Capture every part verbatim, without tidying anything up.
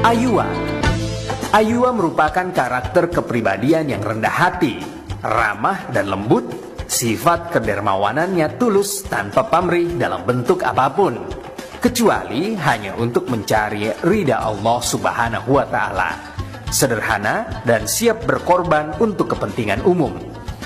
Ayua. Ayua merupakan karakter kepribadian yang rendah hati, ramah dan lembut, sifat kedermawanannya tulus tanpa pamrih dalam bentuk apapun, kecuali hanya untuk mencari ridha Allah Subhanahu wa Ta'ala. Sederhana dan siap berkorban untuk kepentingan umum.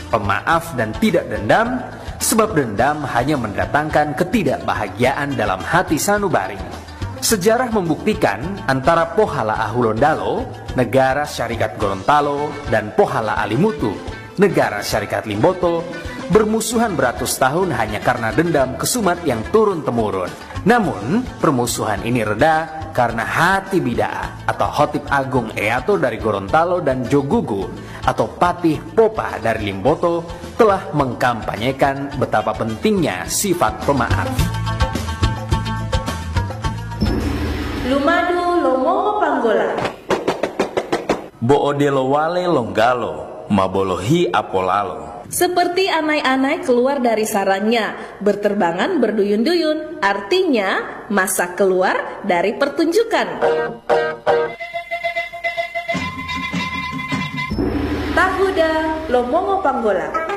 Pemaaf dan tidak dendam, sebab dendam hanya mendatangkan ketidakbahagiaan dalam hati sanubari. Sejarah membuktikan antara Pohala Ahulondalo, negara Syarikat Gorontalo, dan Pohala Alimutu, negara Syarikat Limboto, bermusuhan beratus tahun hanya karena dendam kesumat yang turun-temurun. Namun, permusuhan ini reda karena Hati Bida'a atau Hotip Agung Eyato dari Gorontalo dan Jogugu atau Patih Popa dari Limboto telah mengkampanyekan betapa pentingnya sifat pemaaf. Lumadu lo Mongo Panggola. Bo odelo wale longgalo, ma bolohi apolalo. Seperti anai-anai keluar dari sarangnya, berterbangan berduyun-duyun, artinya masak keluar dari pertunjukan. Tahuda lo Mongo Panggola.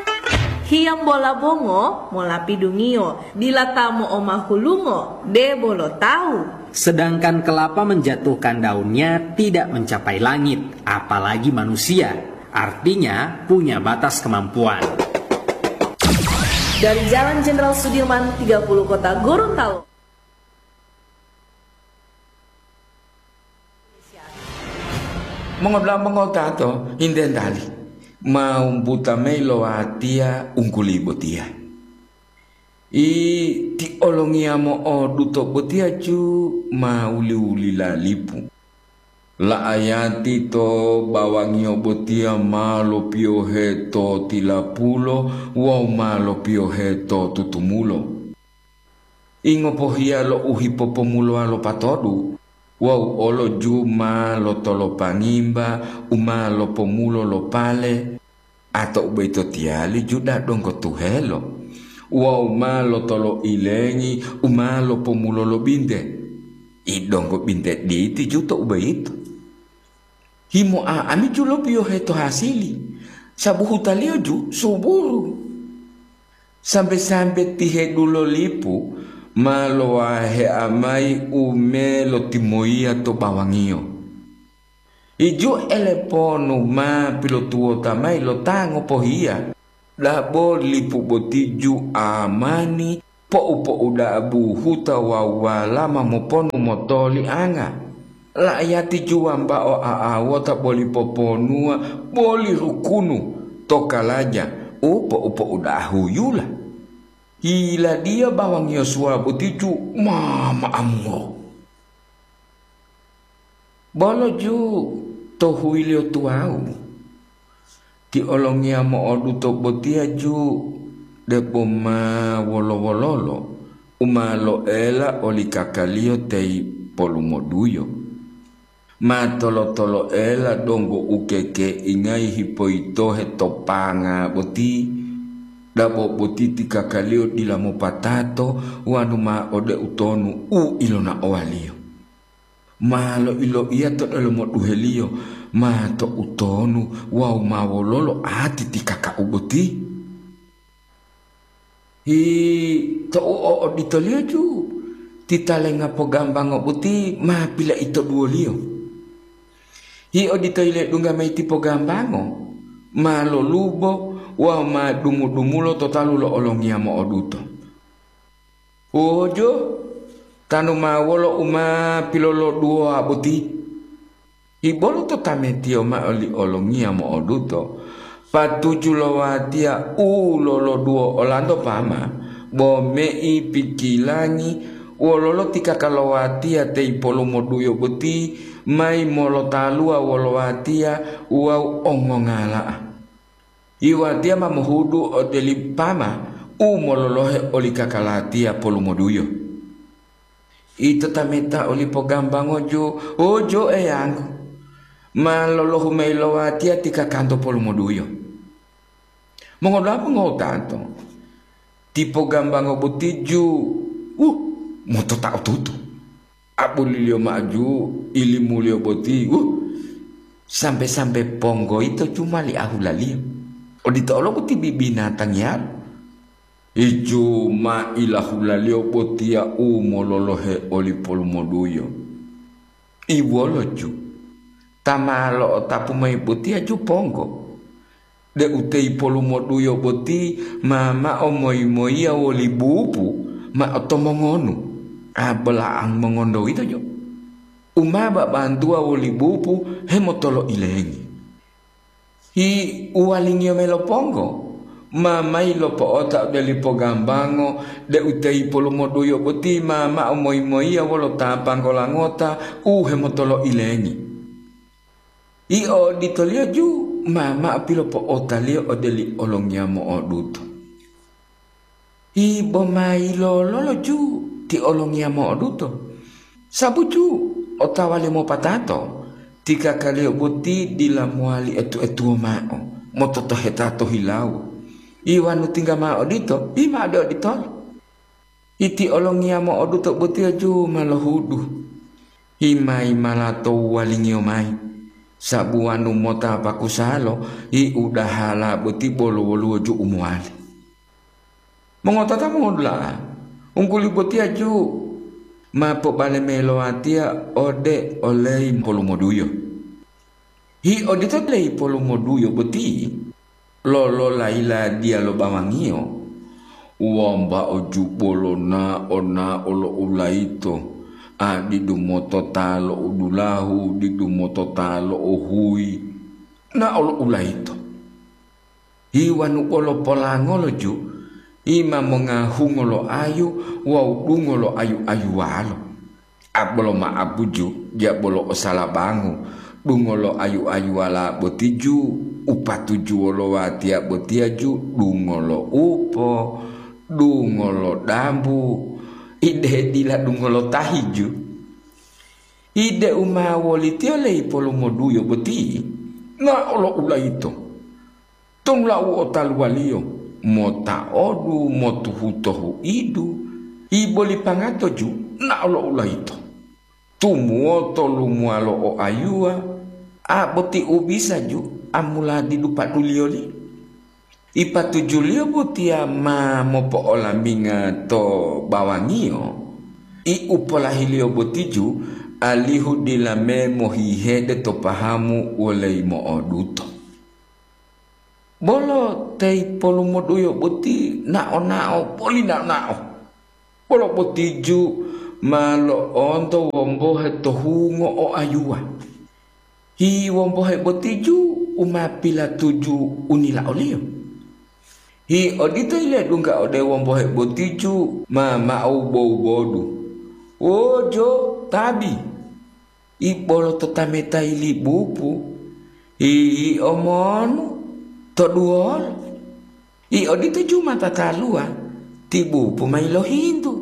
Hiyambola bongo mola pidungiyo, dila ta mo'omahulungo, debo lo tawu. Sedangkan kelapa menjatuhkan daunnya tidak mencapai langit, apalagi manusia. Artinya punya batas kemampuan. Dari Jalan Jenderal Sudirman tiga puluh Kota Gorontalo. Mongodula'a mongotato, intentali ma wumbuta mayi lo watiya ungkuli botiya. I ti olongiya mo'oduto botiya ju ma wuli-wulila lipu. La'ayati to bawangiyo botiya ma lopiyohe to tilapulo wawu ma lopiyohe to tutumulo. I ngopohiya lo u hipopomulowa lo patodu, wawu olo ju ma lotolopangimba u ma lopomulo lo pale, a to u boyito tiyali ju da donggo tuhelo, wawu ma lotoloilengi u ma lopomulo lo binte. I donggo binte diti ju to u boyito. Himoa ami ju lopiyohe to hasili, sabu hutaliyo ju suburu. Sambe-sambe tihedulo lipu ma lowahea mayi u me lotimoyiya to bawangiyo. Iju eleponu ma pilotuwota mayi lo ta ngopohiya, dabo lipu boti ju amani po'u-po'u da'a buhuta wawu walama moponu motolianga. La'ayati ju wambao a'awota boli poponuwa boli rukunu to kalaja u po'u-po'u da'a huyula. Yiladiya bawangiyo suwa boti ju mama'amuro. Bolo ju to huwiliyo tuwawu. Ti olongiya mo'oduto botiya ju debo ma wolo-wololo u ma loela oli kakaliyo teyi polumoduyo. Ma tolo-toloela donggo u kekeingayi hipoyitohe to panga boti, dabo boti ti kakaliyo dila mopatato wanu ma ode utonu u ilonaowaliyo. Ma loiloiya to delomo duheliyo, ma to utonu wawu ma wololo ati ti kaka'u boti. Hi, tou o'oditoliyo ju, ti talenga pogambango boti ma pilaitoduwoliyo. Hi odito yiledungga mayi ti pogambango, ma lolubo wawu ma dumu-dumulo to talu lo olongiya mo'oduto. Ojo, tanu ma wolo u ma piloloduwowa boti? Hibolo to tametiyo mao li olongiya mo'oduto, patuju lo watiya u loloduwo olanto pama, bo mei pikilangi wololo ti kaka lo watiya teyi polumoduyo boti mayi molotaluwa wolo watiya wawu ongongala'a. Yi watiya ma mohudu ode li pama u mololohe oli kaka latiya polumoduyo. Ito tameta oli pogambango ju, ojo Eyanggu, ma lolohu mayi lo watiya ti kakanto polumoduyo. Mongodula'a mongotanto, ti pogambango boti ju, uh, motota otutu. Abuliliyo ma'o ju ilimuliyo boti, uh, sambe-sambe ponggo yito ju ma li ahulaliyo. Odito olo boti bibinatangiyalu. Iju ma ilahulaliyo botiya u mololohe oli polumoduyo. Iwolo ju, ta ma lo'otapu mayi botiya ju ponggo, deu te ipolumoduyo boti ma mao moyi-moyiya woli bupu ma'o to mongonu, a bolaang mongondo yito jo, u ma babantuwa woli bupu hemotolo'ilengi. Hi uwalingiyo mayi lo ponggo, ma mayi lopo'ota ode lipo gambango deu te ipolumoduyo boti ma mao moyi-moyiya wolo ta panggola ngota u hemotolo'ilengi. Yio oditoliyo ju ma mao pilopo'otaliyo ode li olongiya mo'oduto. Hi bo ma yilololo ju ti olongiya mo'oduto, sabu ju otawa limopatato ti kakaliyo boti dila mowali etu-etuwo mao mototoheta to hilawo. Iwanu tingga mao odito, hi ma ode oditolo. Iti olongiya mo'oduto botiya ju ma lohudu. Himai mala to uwalingiyo mayi, sabu wanu mota pakusalo hi udahala boti bolo woluwo ju u mowali. Mongotata mongodula'a, ungguli botiya ju ma pobale mayi lo watiya ode oleyi polumoduyo. Hi odito leyi polumoduyo boti, lolola yiladiya lo bawangiyo, wambao ju bolo nao-nao lo ulayito, a didu motota lo udulahu, didu motota lo uhuyi, nao lo ulayito. Hi wanu bolo polangolo ju, hi ma mongahungo lo ayu wawu dungo lo ayu-ayuwalo. A bolo ma'apuju, ja bolo osalabangu, dungo lo ayu-ayuwala boti ju, u patujuwo lo watiya botiya ju, dungo lo upo, dungo lo dambu, ide dila dungo lo tahi ju. Ide u ma wolitiyo leyi polumoduyo boti, nao lo ulayito. Tonu lau otaluwaliyo, mota'odu, motuhuto huidu, iboli pangato ju nao lo ulayito. Tumuwoto lumuwalo o ayuwa, a boti u bisa ju amula didu paduliyoli. Ipatujuliyo botiya ma mopo'olaminga to bawangiyo, i u polahiliyo boti ju, alihu dila me mohihede to pahamu woleyi mo'oduto. Bolo te ipolumoduyo boti nao-nao boli nao-nao. Bolo boti ju ma lo'onto wombohe to hungo o ayuwa. Hi wombohe boti ju u ma pilatuju unila oliyo. Hi odito yiledungga ode wombohe boti ju ma ma'o bobodu. Wojo, tabi! I bolo to tameta yilibupu, hi omonu, to duwolo. I odito ju ma tataluwa, ti bupu ma yilohintu.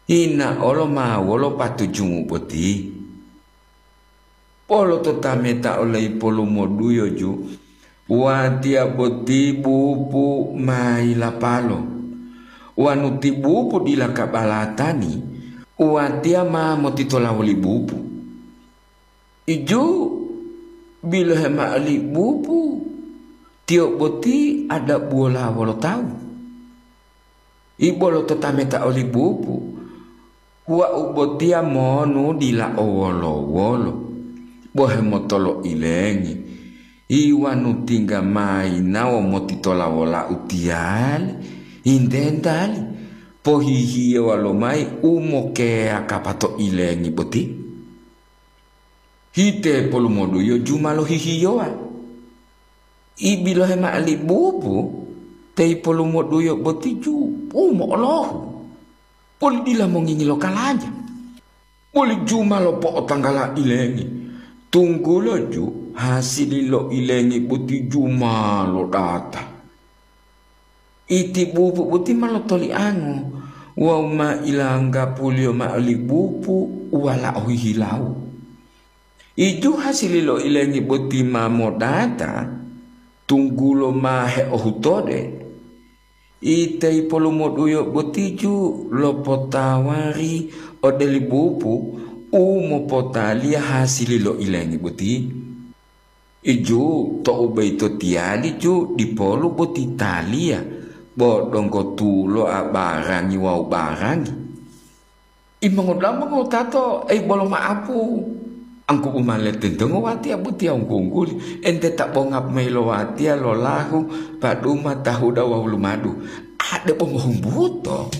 Hina olo ma wolo patujumu boti. Bolo to tameta oleyi polumoduyo ju, watiya boti bupu ma yilapalo. Wanu ti bupu dila kabalatani, watiya ma motitola woli bupu. Iju, bilohe mao li bupu, tiyo boti adabuwola wolo tawu. I bolo to tameta oli bupu, wau botiya monu dila o wolo-wolo, bo hemotolo'ilengi. I wanu tingga ma yinawo motitola wolau tiyali, hintentali, pohihiyewa lomayi u mokeyakapa to ilengi boti. Hite polumoduyo ju ma lohihiyowa. I bilohe mao li bupu, te ipolumoduyo boti ju u mo'olohu, boli dila mongingi lo kalaja, boli ju ma lopo'otanggala ilengi, tunggulo ju hasili lo ilengi boti ju ma lodata. Iti bupu boti ma lotoliango wawu ma ilanggapuliyo mao li bupu u walao hihilawo. Iju hasili lo ilengi boti ma modata, tunggulo ma heohutode. Ite ipolumoduyo boti ju lopotawari ode li bupu u mopotaliya hasili lo ilengi boti. Iju to'u boyito tiyali ju dipolu boti taliya, bo donggo tulo abarangi wawu barangi. Imongodula'a mongowutato, ei bolo ma'apu. Angkubu ma letentongo watiya botiya wunggu-wungguli, ente ta bonga mayi lo watiya lo lahu, paduma, tahuda wawu lumadu. Ade bo mohumbuto.